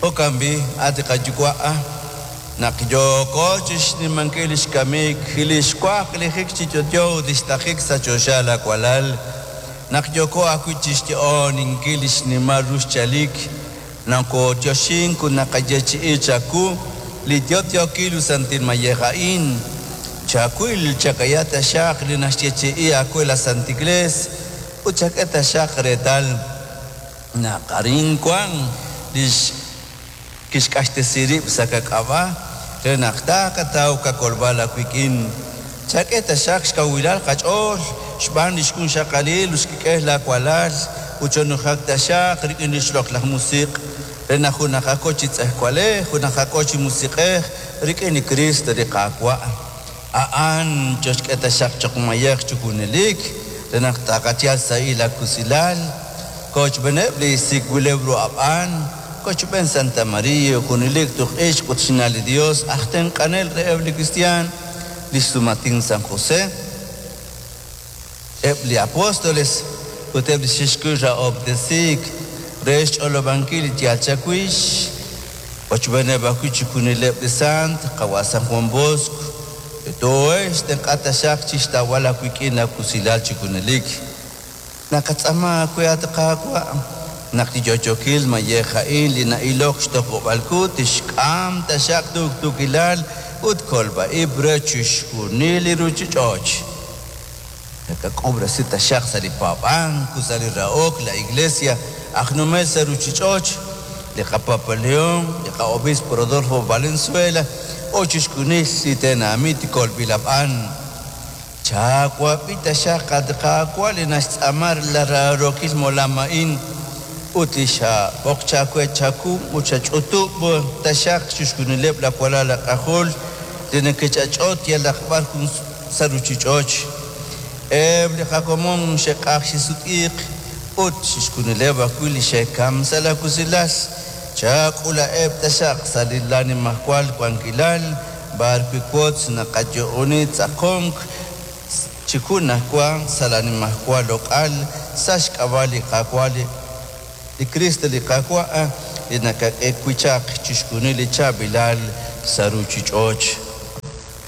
Jo'kan b'i', at qaYuwa', naq yooko chixnimankil lix kamik, lix waklijik chi yo'yo ut lix taqik sa' choxa laawalal, naq yooko ajwi' chixyo'oninkil lix nimal ru xchalik, nokooyoxink ut naqayeechi'i chawu li yo'yookil ut santil mayej a'in. Chawil chakaya taxaq li naxyeechi'i aawe la Santa Iglees ut chak'e taxaq reetal naq arin wank lix kixq'axtesi rib' sa' qak'ab'a' re naq taaqataw qakolb'al aawik'in. Chak'e taxaq xkawilal qach'ool xb'aan li xjunxaqalil ut xkik'el laawalal ut chonujak taxaq rik'in li xloq'laj musiq' re naq junaqako chi tz'ejwalej, junaqako chi musiq'ej rik'in li Cristo li Qaawa'. A'an choxk'e taxaq cho'q mayej chi junelik re naq taaqayal sahil aakusilal. Kochb'eneb' li sik'b'ileb' ru ab'an, kochb'en Santa María, junelik tuq ixq ut xna' li Dios, aj tenq'anel reheb' li kristiaan, li xsumatin San José, eb' li apóstoles ut eb' li xexkuy rahob'tesiik re xch'olob'ankil li yaal chawix, kochb'eneb' ajwi' chi junileb' li sant, qawa' San Juan Bosco, too'ex tenq'a taxaq chixtawb'al aawik'in aakusilal chi junelik. Naqatz'aama aawe at Qaawa' naq li yo'yookil mayej a'in li na'ilok xtoq'ob'al ku tixk'am taxaq tuqtuukilal ut kolb'a-ib' re chixjunil li ruuchich'och'. Nakak'ub'resi taxaq sa' li paab'ank ut sa' li rahok la Iglesia aj numel sa' ruuchich'och', li qaPapa León, li qa'Obispo Rodolfo Valenzuela ut chixjunil li tenamit kolb'il ab'an. Chaawab'i taxaq at Qaawa' li naxtz'aama la raarookil molam a'in ut li xab'oq chaawe chaku ut xach'utub' taxaq chixjunileb' laawalal laak'ajol li neke'ch'ach'ot yalaq b'ar jun sa' ruuchich'och'. Eb' li qakomon xe'q'aj xisut'iiq ut chixjunileb' ajwi' li xe'kamk sa' laakusilal. Chak'ula'eb' taxaq sa' li laanimajwal wankilal b'ar wi' wotz naqayo'oni tz'aqonk chi junajwa sa' laanimajwal loq'al sa' xk'ab'a' li Qaawa' li Kristo li Qaawa' li nakak'e wi' chaq chixjunil li chaab'ilal sa' ruuchich'och'.